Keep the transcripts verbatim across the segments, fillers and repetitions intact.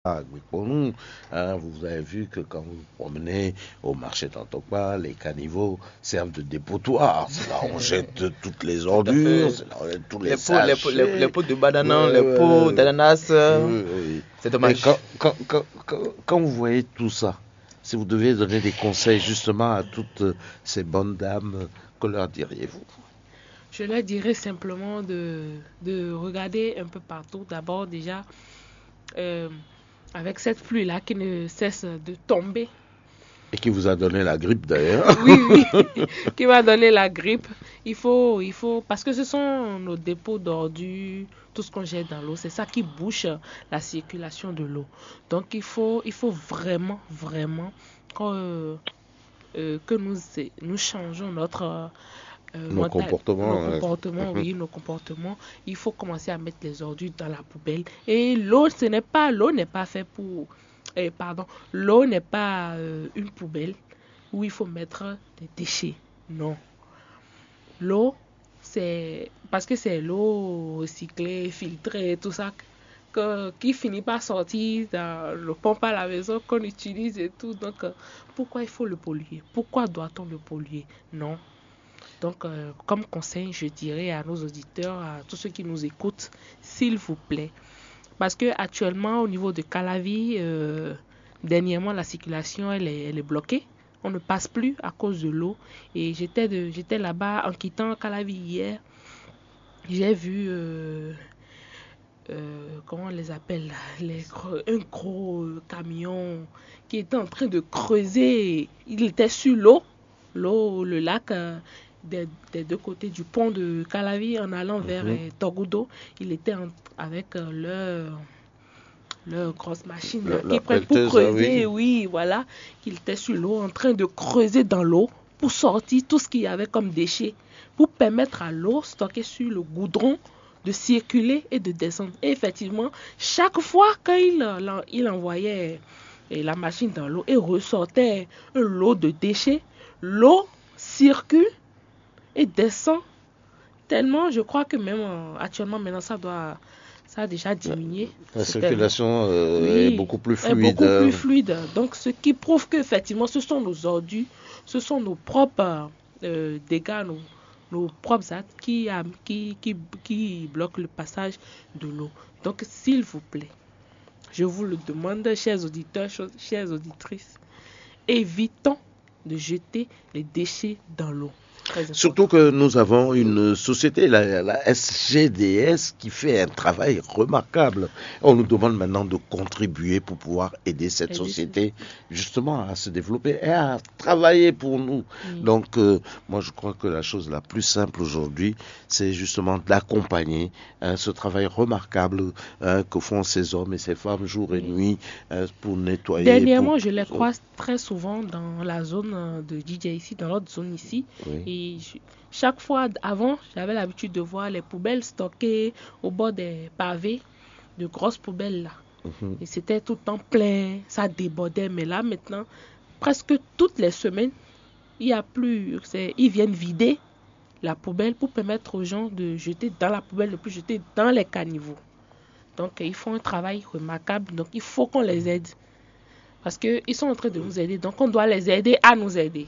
à Gbikponu. Hein, vous avez vu que quand vous vous promenez au marché d'Antokpa, les caniveaux servent de dépotoir. C'est là où on jette toutes les ordures, c'est là où on jette tous les, les pots, les pots, les, sachets, les pots de banana, ouais, les pots d'ananas. Euh, oui, oui. C'est dommage. Et quand, quand, quand, quand, quand vous voyez tout ça, si vous deviez donner des conseils justement à toutes, euh, ces bonnes dames, que leur diriez-vous ? Je leur dirais simplement de, de regarder un peu partout. D'abord, déjà, euh, avec cette pluie-là qui ne cesse de tomber. Et qui vous a donné la grippe d'ailleurs. Oui, oui, qui m'a donné la grippe. Il faut, il faut, parce que ce sont nos dépôts d'ordures, tout ce qu'on jette dans l'eau, c'est ça qui bouche la circulation de l'eau. Donc il faut, il faut vraiment, vraiment que, euh, que nous, nous changeons notre, euh, nos mental-, comportements, nos, euh, comportements, oui, nos comportements. Il faut commencer à mettre les ordures dans la poubelle. Et l'eau, ce n'est pas, l'eau n'est pas fait pour, euh, pardon, l'eau n'est pas, euh, une poubelle où il faut mettre des déchets. Non. L'eau, c'est parce que c'est l'eau recyclée, filtrée, tout ça, que, qui finit par sortir dans le pompe à la maison qu'on utilise et tout. Donc, euh, pourquoi il faut le polluer ? Pourquoi doit-on le polluer ? Non. Donc, euh, comme conseil, je dirais à nos auditeurs, à tous ceux qui nous écoutent, s'il vous plaît, parce que actuellement, au niveau de Calavi, euh, dernièrement, la circulation, elle est, elle est bloquée. On ne passe plus à cause de l'eau. Et j'étais de, j'étais là-bas en quittant Calavi hier. J'ai vu, euh, euh, comment on les appelle là, les gros, un gros, euh, camion qui était en train de creuser. Il était sur l'eau, l'eau, le lac, euh, des, des deux côtés du pont de Calavi en allant vers, mhm, euh, Togudo. Il était en- avec, euh, leur, leur grosse machine là, la, qui la prennent pour pelleteuse, ah oui, creuser, oui, voilà, qu'il était sur l'eau en train de creuser dans l'eau pour sortir tout ce qu'il y avait comme déchets, pour permettre à l'eau stockée sur le goudron de circuler et de descendre. Et effectivement, chaque fois qu'il, euh, il envoyait, euh, la machine dans l'eau et ressortait un lot de déchets, l'eau circule et descend tellement, je crois que même, euh, actuellement, maintenant, ça doit, ça a déjà diminué. La circulation, euh, est, oui, beaucoup plus fluide, est beaucoup plus fluide. Donc, ce qui prouve qu'effectivement, ce sont nos ordures, ce sont nos propres, euh, dégâts, nos, nos propres actes qui, euh, qui, qui, qui bloquent le passage de l'eau. Donc, s'il vous plaît, je vous le demande, chers auditeurs, cho- chères auditrices, évitons de jeter les déchets dans l'eau. Très important. Surtout que nous avons une société, la, la S G D S, qui fait un travail remarquable. On nous demande maintenant de contribuer pour pouvoir aider cette, aider cette société, justement, à se développer et à travailler pour nous. Mm. Donc, euh, moi, je crois que la chose la plus simple aujourd'hui, c'est justement d'accompagner, hein, ce travail remarquable, hein, que font ces hommes et ces femmes jour et, oui, nuit, hein, pour nettoyer. Dernièrement, pour, je les croise très souvent dans la zone, euh, de D J ici, dans l'autre zone ici. Oui. Et je- chaque fois, avant, j'avais l'habitude de voir les poubelles stockées au bord des pavés, de grosses poubelles là. Mhm. Et c'était tout le temps plein, ça débordait. Mais là, maintenant, presque toutes les semaines, il y a plus, c'est- ils viennent vider la poubelle pour permettre aux gens de jeter dans la poubelle, ne plus jeter dans les caniveaux. Donc, ils font un travail remarquable. Donc, il faut qu'on les aide. Parce qu'ils sont en train de nous aider. Donc, on doit les aider à nous aider.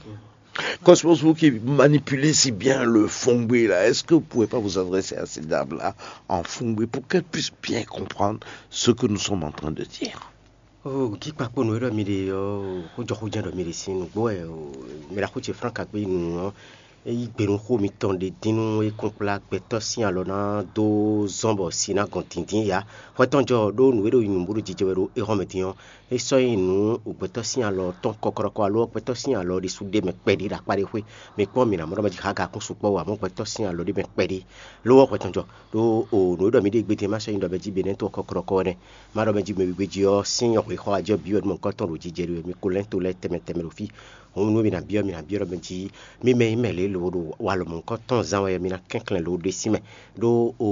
Cosmos, vous qui manipulez si bien le fongbe là, est-ce que vous pouvez pas vous adresser à ces dames-là en fongbe pour qu'elles puissent bien comprendre ce que nous sommes en train de dire ? O kíkpakponu e ɖɔ mi ɖe ɔ́, xójɔxójɛ́n ɖɔ mi ɖe sín nǔgbó wɛ o. Mi ɖo axú ce Frank Agbénu ɔ́, é yí gbe nú xó mitɔn ɖe dín nú é kún kplá gbɛtɔ́ sín alɔ ná dó zɔ́n bɔ si ná gɔn dǐndín yǎ. Xwɛ tɔn jɔ ɖó nǔ e ɖo nyi nǔ bó ɖo jijɛ wɛ ɖo éhɔ́n mɛ din ɔ́, é sɔ́ nyí nǔ gbɛtɔ́ sín alɔ tɔn kɔkɔɖɔkɔ alo gbɛtɔ́ sín alɔ ɖésú ɖ'é mɛ kpɛɖé ɖo akpá ɖé xwé. Mi kpɔ́n mi ná mɔ ɖɔ mɛ jí xága kún sukpɔ́ ǎ, amɔ̌ gbɛtɔ́ sín alɔ ɖ'é mɛ kpɛɖé. Lo ɔ́, xwɛ tɔn jɔ ɖó o nǔ e ɖɔ mi ɖe gbédé ma sɔ́ nyí ɖɔ mɛ jí Benɛ́to ɔ́ kɔkɔɖɔkɔ wɛ nɛ́. Má ɖɔ mɛ jí mɛ wíwé jí ɔ́, sín nyɔ̌xwǐxɔ ajɔ byɔ́ nú mɔ̌hunkɔtɔn ɖo jijɛ ɖi wɛ mi ko lɛ́ to lɛ́ɛ tɛnmɛ tɛnmɛ ɖo fí. Hǔn nú mi ná byɔ́, mi ná byɔ́ ɖɔ mɛ jí mi mɛ nyí mɛ lě lobo ɖo walɔ mɔ̌hunkɔtɔn zán wɛ mi ná kɛnklɛ́n lobo ɖe sí mɛ ɖó o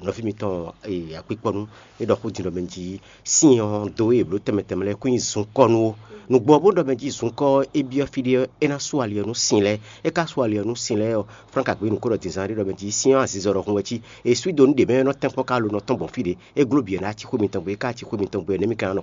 nɔví mitɔn akpikpɔnu é ɖɔ xó din ɖɔ mɛ jí sin ɔ́ dó e bló tɛnmɛ tɛnmɛ lɛ́ɛ kún nyi zunkɔ́ nú ó. Nǔgbó ɔ́ bó ɖɔ mɛ jí zunkɔ́ é byɔ́ fí ɖé ɔ́, é ná sú ali ɔ́ nú sin lɛ́ɛ. É ka sú ali ɔ́ nú sin lɛ́ɛ ɔ́, Frank Agbenu ko ɖɔ din zán ɖé ɖɔ mɛ jí sin ɔ́ azizɔ ɖɔhun wɛ cí. È sú i dó nú ɖě mɛ ɔ́ nɔ tɛ́nkpɔ́n ká lo nɔ tɔ́n gbɔn fí ɖé. É gló bǐ ɔ́ ná cí xwé mitɔn gbe, é ka cí xwé mitɔn gbe ɔ́, nɛ̌ mi ka ná nɔ